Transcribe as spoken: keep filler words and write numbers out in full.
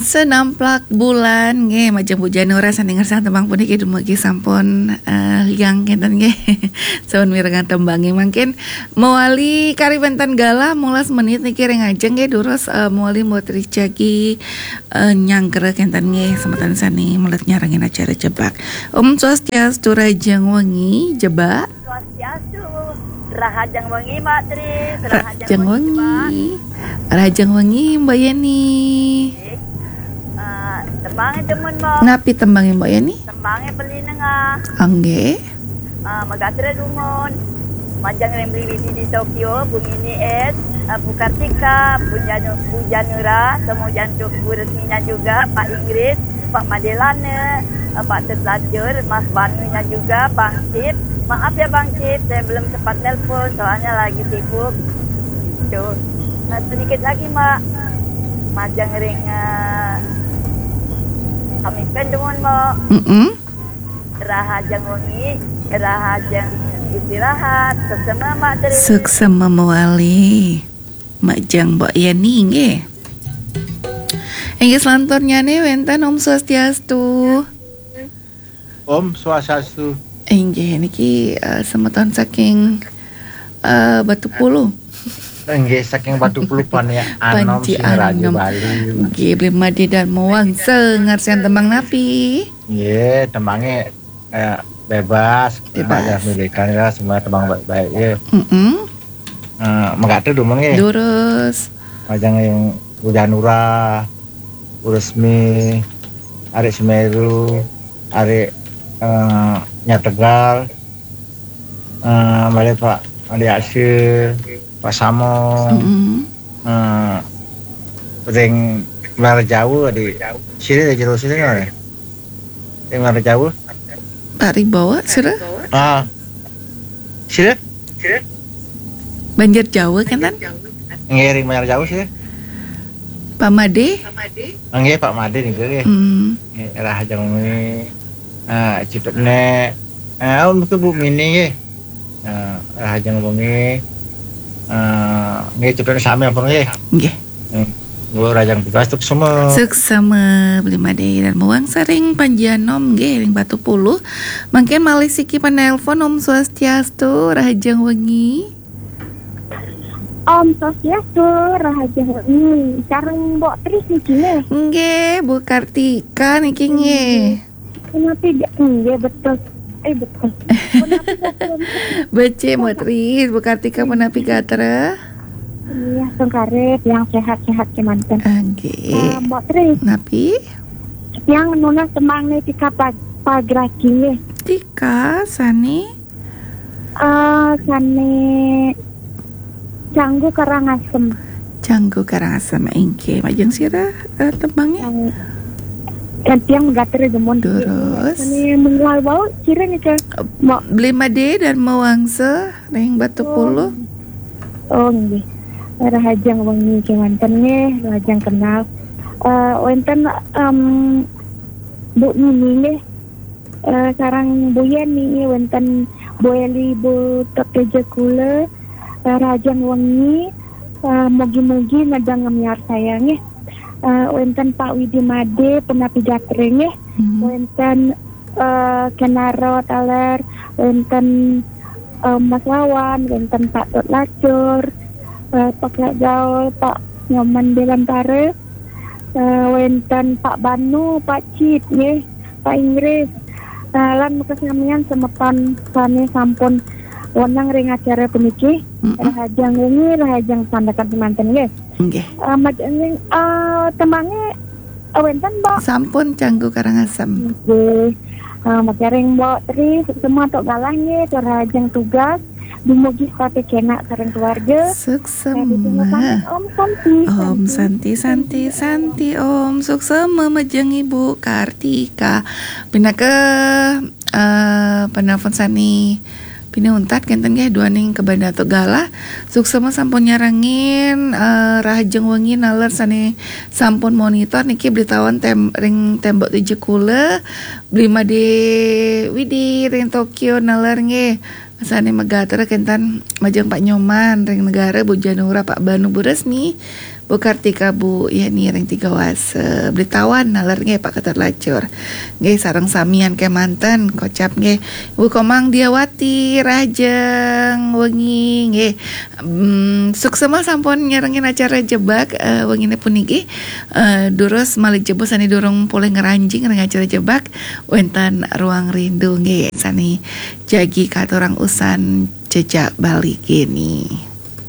Senamplak bulan nggih, majeng Bu Janura sané ngersang tembang puniki dumugi sampun, eh, liang kénten nggih. Sampun mirengang tembangé mangkin mawali kari wénten galah molas menit niki ring ajeng nggih, durus, eh, mawali mboten jagi, eh, nyangkra kénten nggih, semeton sané melet nyarengin acara jebak. Om Swastiastu, rahajeng wengi, jebak. Swastiastu. Rahajeng wengi, Mbak Tri. Rahajeng wengi. Rahajeng wengi, Mbak Yeni. Eh, tembangé demen, Mbak. Napi tembangé, Mbak Yeni? Tembangé Beli Nengah. Nggih. Eh, megatra dumun. Majeng ring Beli Widi di Tokyo, Bu Mini S, eh, Bu Kartika, Bu Janu-, Bu Janura, semua jantuk Bu Resminya juga, Pak Inggris, Pak Madelane, eh, Pak Tetlajur, Mas Banunya juga, Bang Cip. Maaf ya Bang Cip, saya belum sempat nelpon, soalnya lagi sibuk. Gitu. Nah, sedikit lagi, Mbak. Majeng ring, eh, kami pen dumun, Mbak. Mm-mm. Rahajeng wengi, rahajeng istirahat. Suksema, Mbak Tri. Suksema mawali. Majeng Mbok Yeni nggih. Inggih selanturnyané wénten Om Swastiastu. Om Swastiastu. Inggih niki, eh, semeton saking, eh, Batu Pulu. Inggih saking Batu Pulu Panji Anom Panji Singaraja Anom. Bali. Nggih, Bli Madé Darma Wangsa ngarsiang tembang napi? Nggih, tembangé, eh, bebas. Bebas. Ada milikan ya, semua tembang baik-baik ya. Mm-mm. Eh, megatra dumun nggih. Durus. Majeng ring Bu Janura, Bu Resmi, Arik Semeru, Arik, eh, Nyategal, eh, malih Pak Andi Aksir, Pak Samo, Mm-mm. eh, ring Muara Jawa di sini, di jero sini, nggih. Ring Muara Jawa. Pak Ribawa, sira? Ah. Sira? Banjar Jawa, kan, tan? Nggih, ring Muara Jawa, sira. Pak Madé? Nggih, Pak Madé niku, nggih. Hmm. Nggih, rahajeng wengi. Ah, cipetné. Ah, niku Bu Mini, nggih. Ah, rahajeng wengi. Ah, nggih, cipetné sami ampun, nggih. Nggih. Hmm. Nggih, rahajeng tugas, suksema. Suksema, Bli Madé Darma Wangsa ring Panji Anom nggih, ring Batu Pulu. Mangkin malih siki panelpon, Om Swastiastu, rahajeng wengi. Om Swastiastu, rahajeng wengi. Sareng Mbok Tris niki nggih. Nggih, Bu Kartika niki nggih. Punapi ga-, nggih, betul. Eh, betul. Punapi betul. Becik, Mbok Tris, Bu Kartika punapi gatra? Iya, sengkare, tiang sehat-sehat kemanten. Nggih. Eh, Mbok Tris. Napi? Tiang nunas tembang nika pag-, pagraki nggih. Nika, sané? Eh, sané Canggu Karangasem. Canggu Karangasem, inggih. Majeng sira, eh, tembangé? Yang, yang tiang megatra demen. Durus. Sané menggala wau, sira nika. Mbok. Bli Madé Darma Wangsa, ring Batu Pulu. Oh, nggih. Rahajeng wengi kemanten nggih, rahajeng kenal. Eh, wénten, em, Bu Nini nggih. Eh, sareng Bu Yeni, wénten Bu Eli, Bu Teteja Kula, eh, rahajeng wengi, eh, mugi-mugi nedeng ngemiarsayang nggih. Eh, wénten Pak Widi Madé, punapi gatra nggih. Hmm. Wénten, eh, Kenaro taler, wénten, eh, Mas Wawan, wénten Pak Tut Lacur, eh, Pak Lak Gaul, Pak Nyoman Belantara, eh, wénten Pak Banu, Pak Cip, nggih, Pak Inggris. Eh, lan makasamian semeton sané sampun wénten ring acara puniki. Mm-mm. Rahajeng wengi, rahajeng sandekan semanten, nggih. Nggih. Eh, maj-, nggih, eh, tembangé, eh, wénten, Mbok? Sampun, Canggu Karangasem. Nggih. Eh, maj-, ring Mbok Tri, suksema antuk galah nggih, tur rahajeng tugas. Dumugi setata kenak sareng keluarga. Suksema. Nah, ditunggu pamit, Om Santi, Om Santi, Santi, Santi, Om. Suksema majeng Ibu Kartika. Pinaka, eh, penelpon sané pinih untat kénten nggih, duaning kabanda antuk galah. Suksema sampun nyarengin, eh, rahajeng wengi naler sané sampun monitor niki, Bli Tawan tem-, ring Tembok Teja Kula, Bli Madé Widi ring Tokyo naler nggih. Sané megatra kénten majeng Pak Nyoman ring Negara, Bu Janura, Pak Banu, Bu Resmi, Bu Kartika, Bu Yani ring Tiga Wasa, Belitawan naler nggih, Pak Keter Lacur. Nggih, sareng samian kemanten kocap nggih. Bu Komang Diawati, rahajeng wengi nggih. Hmm, suksema sampun nyarengin acara Jebak eh, wengine puniki. Eh, durus malih jebos sane durung polih ngranjing ring acara Jebak, wenten Ruang Rindu nggih sane jagi katurang usan jejak Bali kini.